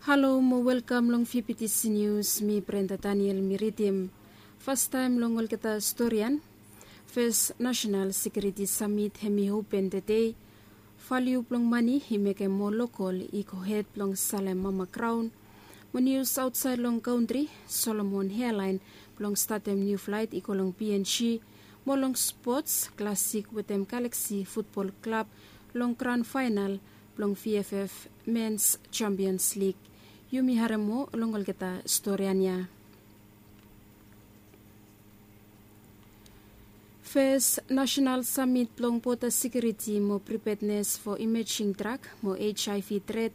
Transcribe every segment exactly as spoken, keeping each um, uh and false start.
Halo mo welkam long Fifty Nius, mi Brenda Daniel mi ridim. Fastaem long olgeta storian, Fes Nasenal Sekiuriti Samit hem i open tede. Valiu blong mani i mekem moa lokol i gohed blong salem mama graon. Mo nius aotsaed long kantri, Solomon Airline blong statem niu flaet i go long P N G. Mo long spots, Classic wetem Galaxy Futbol Klab long gran faenal blong V F F Mens Champions League. Yumi harem moa long olgeta storian ya. Fes Nasenal Samit blong Boda Sekiuriti mo Pripednes fo Imejing Drag mo H I V Tret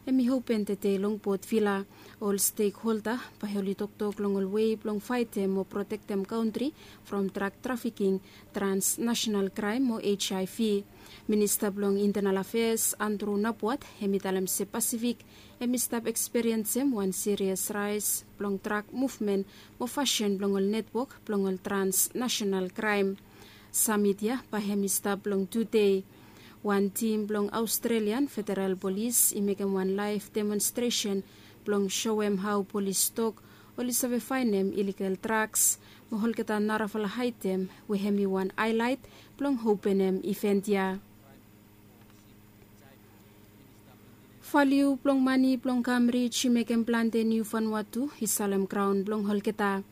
hem i open tede long Port Vila. Ol stekholda bae oli toktok long ol wei blong faetem mo protektem kantri from drag trafiking, transnasenal kraem mo H I V. Minista blong Intenal Afeas Andrew Napuat hem i talem se Pasifik hem i stap ekspiriensem wan sirias raes blong drag muvmen mo fasin blong ol netwok blong ol transnasenal kraem. Samit ya bae hem i stap long tu dei. Wan tim blong Aostrelian Federal Polis i mekem wan laef demonstresen blong soem hao polis tok oli save faenem iligal draks mo olgeta narafala aetem we hem i wan aelaet blong openem iven ya. Valiu blong mani blong Kamrij i mekem plante niu Vanuatu i salem graon blong olgeta.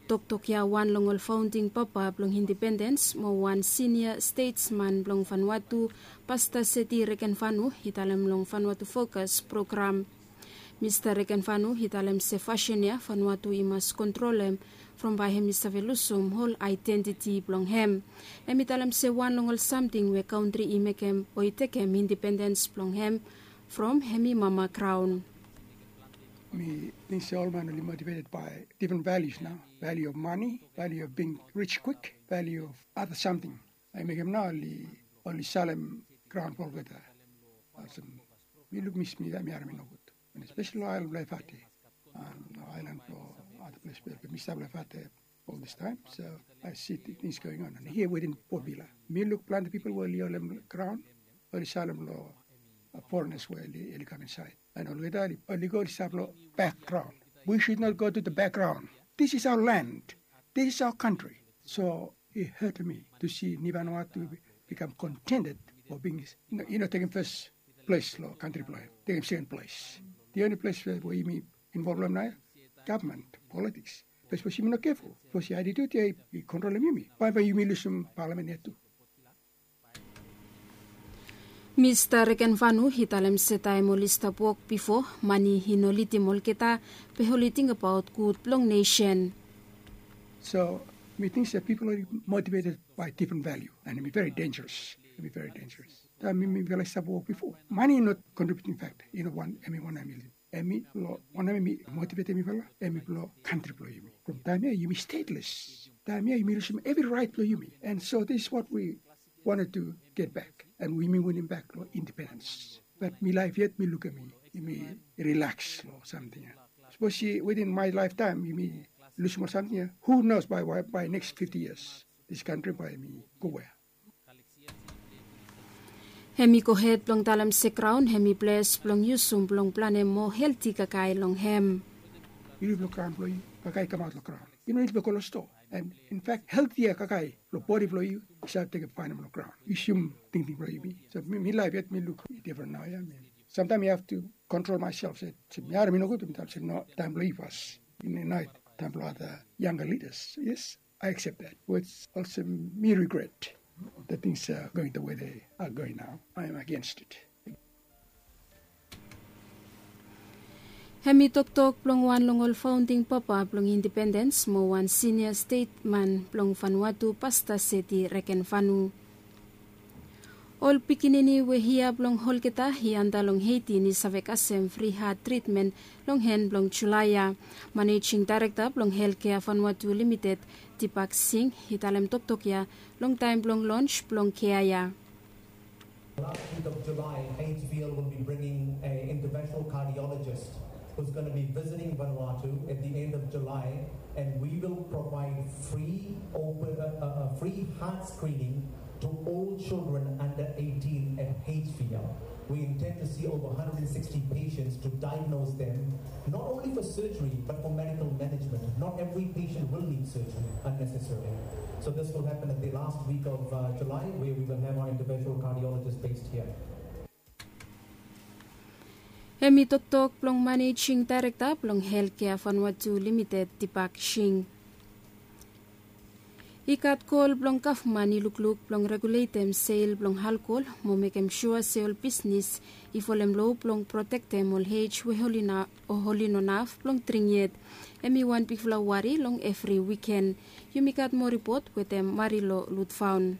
Toktok ya wan long ol faonding papa blong indipendens mo wan sinia stetsman blong Vanuatu, Pasta Seti Rekenvanu i talem long Vanuatu Fokas program. Mista Rekenvanu i talem se fasin ya Vanuatu i mas kontrolem from bae hem i save lusum ol aedentiti blong hem. Hem i talem se wan long ol samting we kantri i mekem o i tekem indipendens blong hem from hem i mama graon. Mi ting se ol man oli motiveted bae difren valius nao, valiu of mani, valiu of bing rij kwik, valiu of ada samting. Bae i mekem nao oli oli salem graon blong olgeta. Olsem mi luk mi smit mi harem i nogud. And especially long aelan blong Efate, long aelan blong ada ples we mi stap long Efate ol distaem. So I see things going on and here within Port Vila mi luk plante pipol we oli holem graon oli salem long forenas we oli kam insaed. And olgeta oli go oli stap long bakgraon. We should not go to the background. This is our land. This is our country. So it hurt me to see Vanuatu become contented for being, you know, you know, taking first place long kantri blong hem, taking second place. The only place where, where yumi involve long nao, government, politics. Bikos yumi no careful. Bikos attitude ya i kontrolem yumi. Bae bae yumi lusum parliament ya tu. Mista Rekenvanu i talem se taem oli stap wok bifo, mani i no lidim olgeta, be oli tingbaot gud blong nesen. So mi ting se pipol oli motiveted by different value and hem i very dangerous. Hem i very dangerous. Taem mi mifala i stap wok bifo, mani i no contributing factor. I no wan, hem i wan, hem i wan hem i motivetem mifala, hem i blong kantri blong yumi. From taem ya yumi stateless. Taem ya yumi lusum evri raet blong yumi. And so this is what we wanted to get back. And yumi winim bak long indipendens. Bat mi laef yet mi lukim yumi rilaks long samting ya. Sapos within my lifetime yumi lusum ol samting ya, who knows by, by next fifty years this country bae hem i go wea. Hem i gohed blong talem se graon hem i ples blong yusum blong planem moa helti kakae long hem. Yu luk long graon blong yu, kakae i kamaot long graon. Yu no nid blong go long stoa. And in fact heltia kakae long bodi blong yu i save tekem faenem long graon. Yusum tingting blong yumi. So mi laef yet mi luk difren nao ya. Samtaem mi have to control myself se mi harem i nogud, mi talem se no, taem blong yu fas. Naet taem blong ada younger leaders. Yes, I accept that. Wits olsem mi regret the things are going the way they are going now. I am against it. Hem i toktok blong wan long ol faonding papa blong indipendens mo wan sinia stetman blong Vanuatu, Pasta Seti Rekenvanu. Ol pikinini we hia blong olgeta i anda long eitin i save kasem fri hat tritmen long en blong Julae ya. Manejing daerekta blong Helkea Vanuatu Limited, Deepak Singh, i talem toktok ya long taem blong lons blong kea ya. Last week of July, H V L will be bringing an interventional cardiologist who's going to be visiting Vanuatu at the end of July, and we will provide free open, uh, uh, uh, free heart screening to all children under eighteen at H V L. We intend to see over one hundred sixty patients to diagnose them, not only for surgery, but for medical management. Not every patient will need surgery unnecessarily. So this will happen at the last week of uh, July, where we will have our interventional cardiologist based here. Hemi toktok blong manejing daerekta blong helkea Vanuatu Limited, Tipak Sing. I gat kol blong gavman i lukluk blong reguletem sel blong alkohol mo mekem sua se ol bisnis i folem lo blong protektem ol ej we oli no naf blong dring yet. Hemi wan bigfala wari long evri wiken. Yumi gat moa ripot wetem Marilo Lutfaun.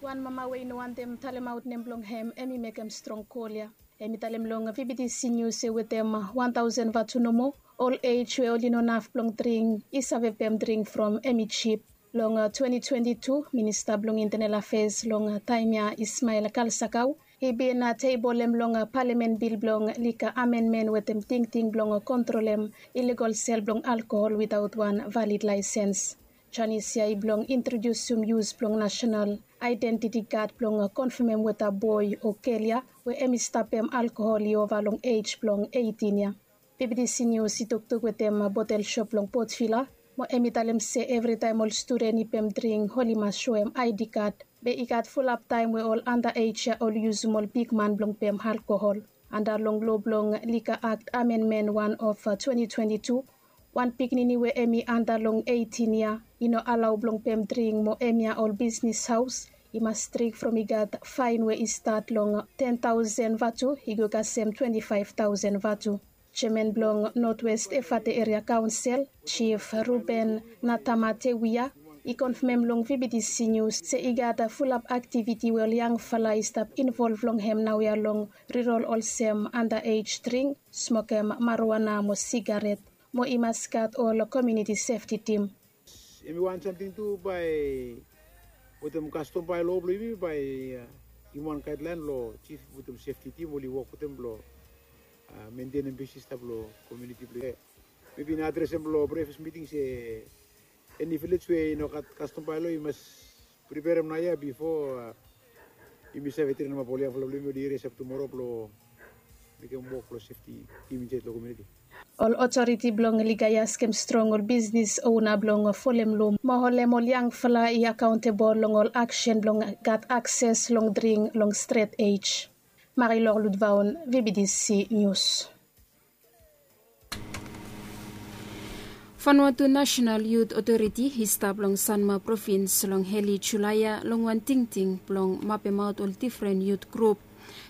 Wan mama we i no wantem talemaot nem blong hem, hemi mekem strong kol ya. Hemi talem long V B T C News se wetem wan taosen vatu nomo, ol ej we oli no naf blong dring i save pem dring from hemi jip. Long twenty twenty-two, Minista blong Internal Affairs long taem ya, Ismail Kalsakau, i bin tebolem long palamen bil blong lika amenmen wetem tingting blong kontrolem iligol sel blong alkohol witaot wan valid laesens. Janis ya i blong introdiusum yus blong nasenal aedentiti kad blong konfamem weta boe o gel ya we hemi stapem alkohol i ova long ej blong eitin ya. B B T C News i toktok wetem botel sop blong Port Vila mo hemi talem se evritaem ol studen i pem dring oli mas soem I D kad. Be i gat fulap taem we ol anda ej ya oli yusum ol bigman blong pem alkohol. Anda long lo blong Liquor Act Amendment wan of twenty twenty-two, wan pikinini we hemi anda long eitin ya i no alao blong pem dring mo hemia ol bisnis haos i mas strik from i gat faen we i stat long ten taosen vatu i go kasem twenti faef taosen vatu. Jeaman blong Northwest Efate Eria Kaonsel, Jif Ruben Natamatewia, i konfamem long V B T C News se i gat fulap aktiviti we ol yangfala i stap involv long hem naoia long rirol olsem anda ej dring, smokem marijuana mo sigaret, mo i mas gat ol komuniti sefti tim. Hemi wan samting tu bae wetem kastom bae lo blo yumi bae yumi wan gaedlaen blo jif wetem sefti tim oli wok wetem blo mentenem pis i stap lo komuniti blo yumi. Mebi na adres hem blo brefas miting se eni vilej we i no gat kastom bae lo i mas priperem naoia bifo yumi save trenemap ol yangfala blo yumi oli resap tumoro blo mekem wok blo sefti tim insaed lo komuniti. Ol otoriti blong Liga i askem strong ol bisnis ona blong folem lo mo holem ol yangfala i akaontebol long ol aksen blong gat akses long dring long stret ej. Marilor Ludvaon, V B T C News. Vanuatu National Youth Authority i stap long Sanma provins long heli Julae ya long wan tingting blong mapemaot ol difren yut grup.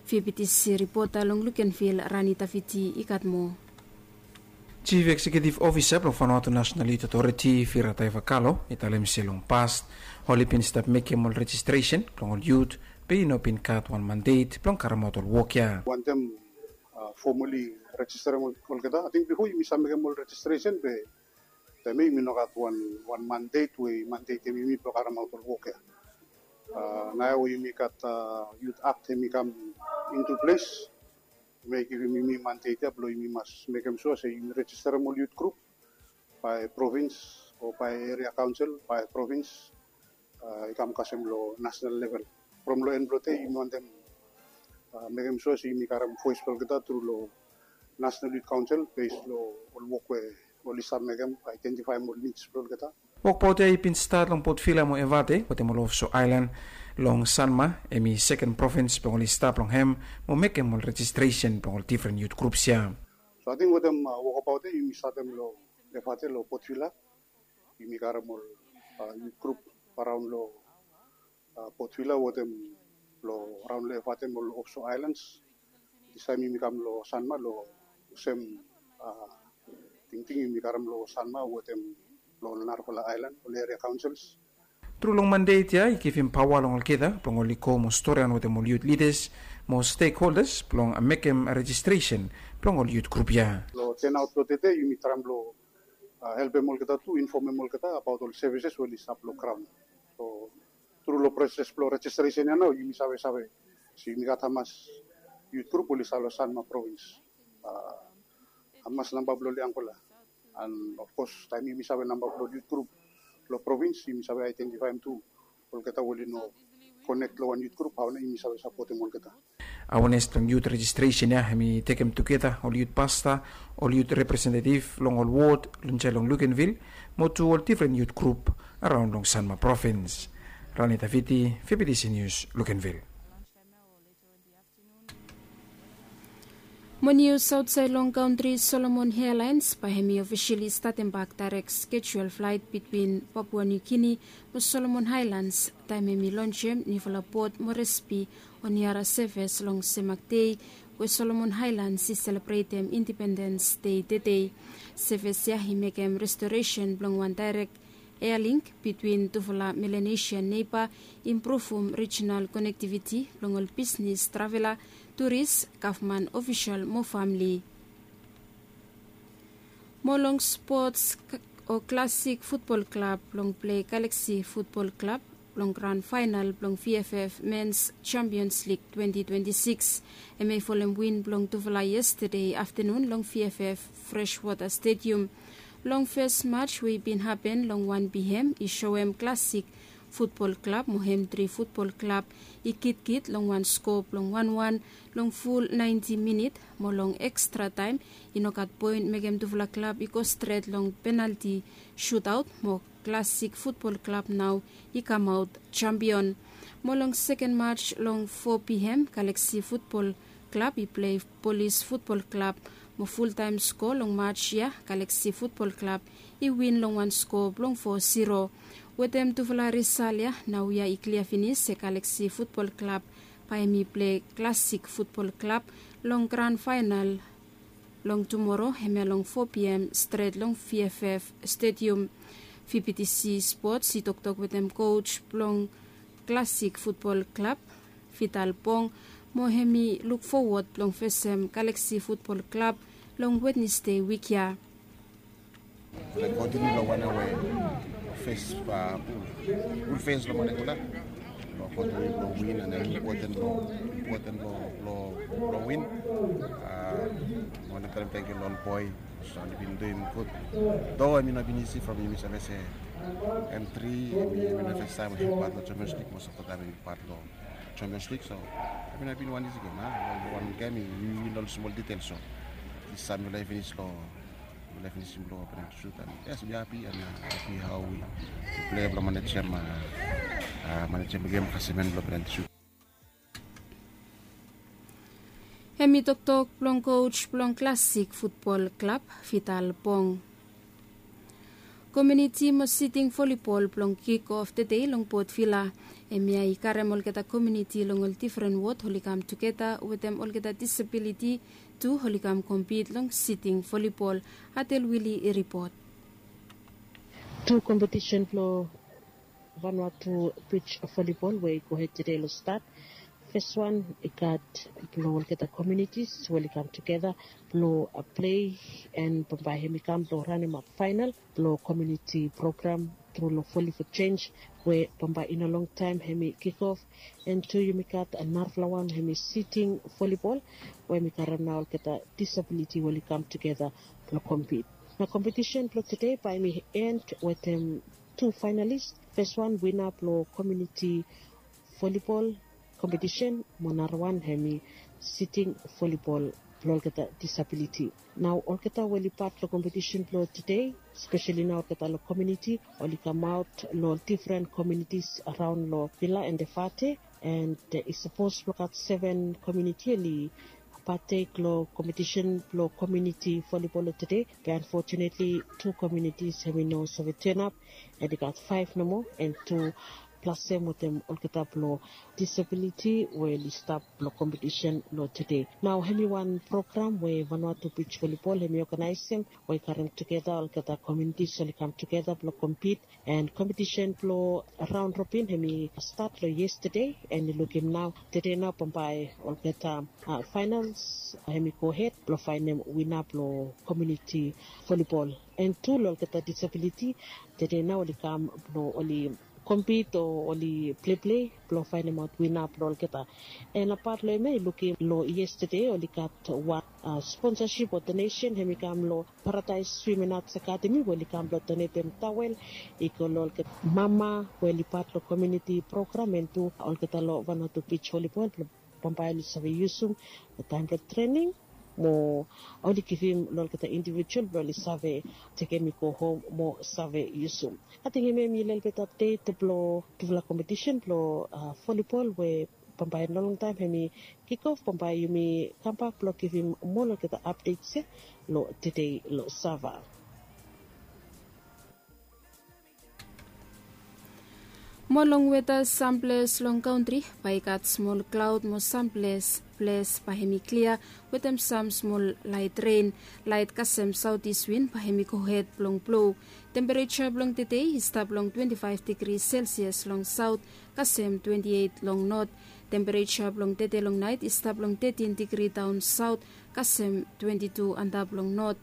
V B T C ripota long Lukenvil, Rani Taviti, i gat moa. Jif Eksekiutiv Ofisa blong Vanuatu National Youth Authority, Vira Taivakalo, i talem se long pas oli bin stap mekem ol rejistresen blong ol yut be i no bin gat wan mandet blong karemaot ol wok ya. Wantem fomali rejisterem olgeta. Ating bifo yumi save mekem ol rejistresen be taem ya yumi no gat wan mandet we i mandetem yumi blong karemaot ol wok ya. Naoia we yumi gat Yut Akt hemi kam intu ples, hemi givim yumi mandet ya blong yumi mas mekem sua se yumi rejisterem ol yut grup bae provins o bae eria kaonsel bae provins, i kam kasem lo nasenal level. From lo en blo dei yumi wantem mekem sua se yumi karem voes blo olgeta tru lo Nasenal Yut Kaonsel bes lo ol wok we oli save mekem, aedentifaem ol nids blo olgeta. Wokbaot ya i bin stat long Port Vila mo Evate wetem ol ofso aelan long Sanma, hemi seken provins blong oli stap long hem mo mekem ol rejistresen blong ol difren yut grups ya. So ating wetem wokbaot ya yumi statem lo Evate lo Port Vila. Yumi karem ol yut grup araon lo Port Vila wetem lo araon lo Evate mo ol ofso aelans. Distaem yumi kam lo Sanma lo sem tingting yumi karem lo Sanma wetem lo ol narafala aelan, ol eria kaonsels. Tru long mandet ya i givim paoa long olgeta blong oli go mo storian wetem ol yut lidas mo stekholdas blong mekem rejistresen blong ol yut grup ya. Lo tenaot blo tede yumi traem blo helpem olgeta tu, infomem olgeta abaot ol sevises we oli stap lo graon. So tru lo proses blo rejistresen ya nao yumi savesave se yumi gat hamas yut grup oli stap lo Sanma provins, hamas namba blo ol yangfala. An ofkos taem yumi save namba blo ol yut grup lo provins yumi save aedentifaem tu olgeta we oli no konek lo wan yut grup, hao nao yumi save sapotem olgeta. Awenes blong yut rejistresen ya hem i tekem tugeta ol yut pasta, ol yut representetiv long ol wod long insaed long Lukenvil, mo tu ol difren yut grup araon long Sanma provins. Rani Taviti, Fibitisi Nius, Lukenvil. Mo nius aotsaed long kantri, Solomon Airlines bae hem i ofisali statembak daerek skejuel flaet bitwin Papua Niu Gini mo Solomon Aelans taem hem i lonsem niufala bot Moresby Oniara seves long semak dei we Solomon Aelans i selebretem Indipendens Dei tedei. Seves ya i mekem restoresen blong wan daerek ealink bitwin tufala Melanesian neiba, impruvum rijinal konektiviti blong ol bisnes, travela, turis, gavman ofisol mo famle. Mo long spots, o Klasik Futbol Klab blong plei Galaksi Futbol Klab blong gran faenal blong VFF Mens Champions Lig twenti twenti sikis. Hem i folem win blong tufala yestade aftanun long VFF Freshwater Stadium. Long fes maj we i bin hapen long wan pihem i soem Klasik Futbol Klab mo Hemtri Futbol Klab i kitkit long wan skoa blong wanwan long ful naenti minit, mo long ekstra taem i nogat poen mekem tufala klab i go stret long penalti sutaot, mo Klasik Futbol Klab nao i kamaot jampion. Mo long seken maj long fo pihem, Galaksi Futbol Klab i plei Polis Futbol Klab, mo fultaem skoa long maj ya, Galaksi Futbol Klab i win long wan skoa blong fo siro. Wetem tufala risal ya, naoia i klia finis se Galaksi Futbol Klab bae hem i plei Klasik Futbol Klab long gran faenal long tumoro, hemia long fo pihem stret long VFF Stadium. VBTC Spots i toktok wetem koj blong Klasik Futbol Klab, Vital Pong, mo hem i luk fowod blong fesem Galaksi Futbol Klab long Wednesde wik ya. Blong kontiniu long wanem we fes, a, pul, pul fes long moning tuna. Blong kontiniu blong win, and impoten blong, impoten blong, blong, blong win. A, wantem talem tangkiu long ol boe, so oli bin duim gud. Do hemi no bin isi from yumi save se M tri, hemi, hemi no fes taem hemi pat long Champions League, most of the time hemi pat long Champions League, so hemi no bin wan isi gem, a, wan, wan gem, yumi win ol smol ditel, so. Dis taem yumi laik finis long Mifala i finisim blong penalti sut, and yes, we happy and, uh, happy how we, we play blong manejem, uh, uh, manejem gem kasem en blong penalti sut. Hemi toktok blong koj blong Klasik Futbol Klab, Vital Pong. Komuniti mo siting volibol blong kikof tedei long Port Vila. Hemia i karem olgeta komuniti long ol difren wod oli kam tugeta wetem olgeta disabiliti tu oli kam kompit long siting volibol. Adel Wili i ripot. Tu kompetisen blong Vanuatu bij volibol we i gohed tede long stat. Fes wan i gat blong olgeta komunitis we oli kam tugeta blong, uh, plei, and bambae hemi kam blong ranemap faenal blong komuniti program tru long Volley for Change, we bambae i no longtaem hemi kikof. And tu yumi gat narafala wan hemi siting volibol, we hemi karem nao olgeta disabiliti we oli kam tugeta blong kompit. Na kompetisen blong tede bae hemi en wetem tu faenalis. Fes wan wina blong komuniti volibol kompetisen, mo narawan hemi siting volibol blong olgeta disabiliti. Nao olgeta we oli pat long kompetisen blong tede, speseli nao olgeta long komuniti, oli kamaot long difren komunitis araon long Vila and Efate, and, uh, i sapos blong gat seven komuniti oli patek long kompetisen blong komuniti volibol long tede. Be unfortunately tu komunitis hemi no save tenap, and i gat faef nomo, and tu plasem wetem olgeta blong disabiliti we oli stap long kompetisen long tede. Nao hemi wan program we Vanuatu Bij Volibol hemi oganaesem, we i karem tugeta olgeta komunitis oli kam tugeta blong kompit. And kompetisen blong raon robin hemi stat long yestede, and yu lukim nao tede nao bambae olgeta, uh, faenals, uh, hemi gohed blong faenem wina blong komuniti volibol. And tu long olgeta disabiliti, tede nao oli kam blong oli kompit o oli pleiplei blong faenemaot wina blong olgeta. And apat long hemia yu lukim long yestede oli gat wan, uh, sponsasip o donesen hemi kam long Paradise Women Arts Academy we oli kam blong donetem tawel i go long olgeta mama we oli pat long komuniti program, and tu olgeta long Vanuatu Bij Volibol blong Bambae oli save yusum long taem blong trening mo oli givim long olgeta indivijual blong oli save tekem i go hom mo save yusum. Ating em em i lelebet apdet blong tufala kompetisen blong volibol we bambae no longtaem hem i kikof. Bambae yumi kambak blong givim moa olgeta apdets ya long tede long sava. Moa long weta, samples long kantri bae i gat smol klaod mo samples ples bae hem i klia wetem sam smol laet ren. Laet kasem saotis win bae hem i gohed blong blo. Tempereja blong tede i stap long twenti faef digri selsias long saot kasem twenti eit long not. Tempereja blong tede long naet i stap long tetin digri daon saot kasem twenti tu antap long not.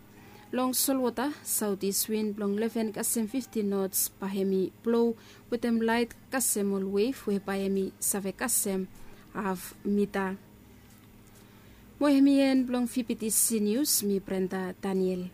Long solwota, saotis win blong leven kasem fiftin nots bae hem i blo wetem laet kasem ol wef we bae hem i save kasem haf mita. Mo hem i en blong vptc nius. Mi Brenda Daniel.